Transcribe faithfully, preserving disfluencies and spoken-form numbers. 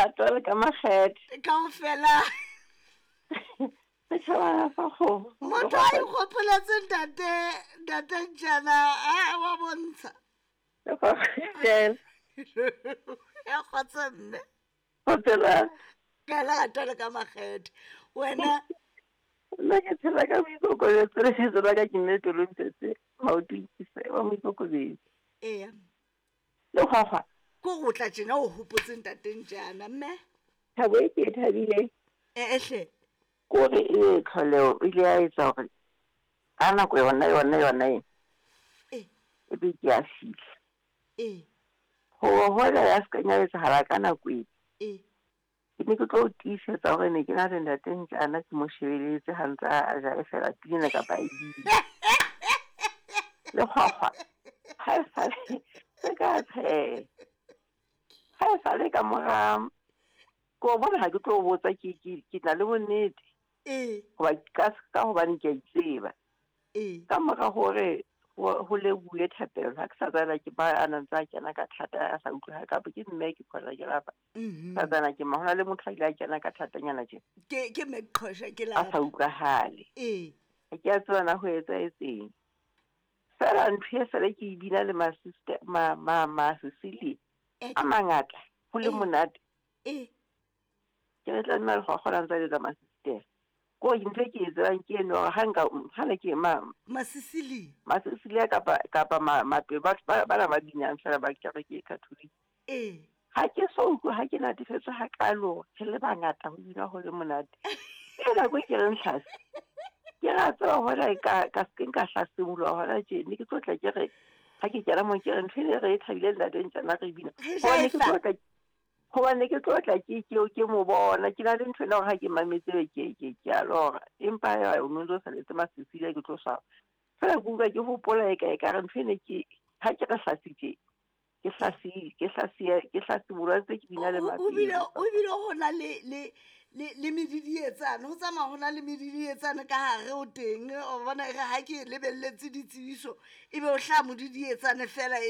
Lerato le ka makgethe. Kaofela. Setjhabana sa kgomo. Motho a ikgopoletse ntate ntate Ntjana a wa bontsha. Lekgwakgwa. Ya kgotsa mme. Kgotsa. Ka lerato le ka makgethe. Wena nna ke phela ka boikokobetso le lebitso la ka ke mme Tolomtsetse Maoto wa moikokobetso. Eya. Lekgwakgwa. Ko go tla tjena o hopotse ntate Ntjana mme. Thabo e ke e thabileng. E ehle. Kore e tlholeho e ile ya etsa hore ka nako yona yona yona e. E. E be ke a fihla. E. Ho hola ya se ka etsahala ka nako e. E. Ke ne ke tlo tiisetsa hore ne ke na le ntate Ntjana ke mo shebeletse ha ntse a ja e fela pina kapa e bina. Lekgwakgwa. Ha e sale se ka tsheha. Ha e sale ka mora ko bona ha ke tlo botsa ke ke ke na le bonnete. E. Hoba ka ka hobane ke a itseba. E. Ka mora hore ho lebohuwe thapelo ha ke sa tsana ke ba a na ntse a kena ka thata a sa utlwe ha kapa ke mme ke khona ke lapa. Mhm. Sa tsana ke ma hona le motho a ile a kena ka thatanyana tje. Ke ke mme Qhosha ke A lapa. sa utlwahale. E. Ha ke a tseba na ho etsahetseng. Fela ntho e sale ke e bina le ma sister ma ma ma Cecilia a mangata ho le Eh. monate. E. Ke re tla nna le go kgona ntse le ma sister. Ko ntho e ke e tsebang ke eno hore ha nka ha ne ke ma Ma Cecilia. ma Cecilia kapa kapa ma mape batho ba bana ba binang fela ba kereke e Catholic. E. Ha ke so utlwe ha ke natefetswe hakalo re le bangata ho bina ho le monate. E nako e ke reng tlhase. Ke ra tseba hore ka ka se nka hlasimoloha hona tje ne ke tlo tla ke re ha ke kena mo ke re ntho e re e thabile ntate Ntjana re bina. Re Hobane ke jaifa. tlo tla hobane ke tlo tla ke ke ke mo bona ke na le ntho ena hore ha ke mametse ke ke ke a lora empa ya o no ntso saletse ma Cecilia ke tlo swaba. Fela ke utlwa ke hopola e ka e ka re ntho ene ke ha ke re hlasitse ke hlasi ke hlasi ke hlasimoloha ntse ke bina le O o bile mapele. o bile ho na le le le le medidietsane ho tsamaya ho na le medidietsane ka hare o teng o bona e re ha ke lebelletse ditsebiso ebe o hlaha modidietsane fela e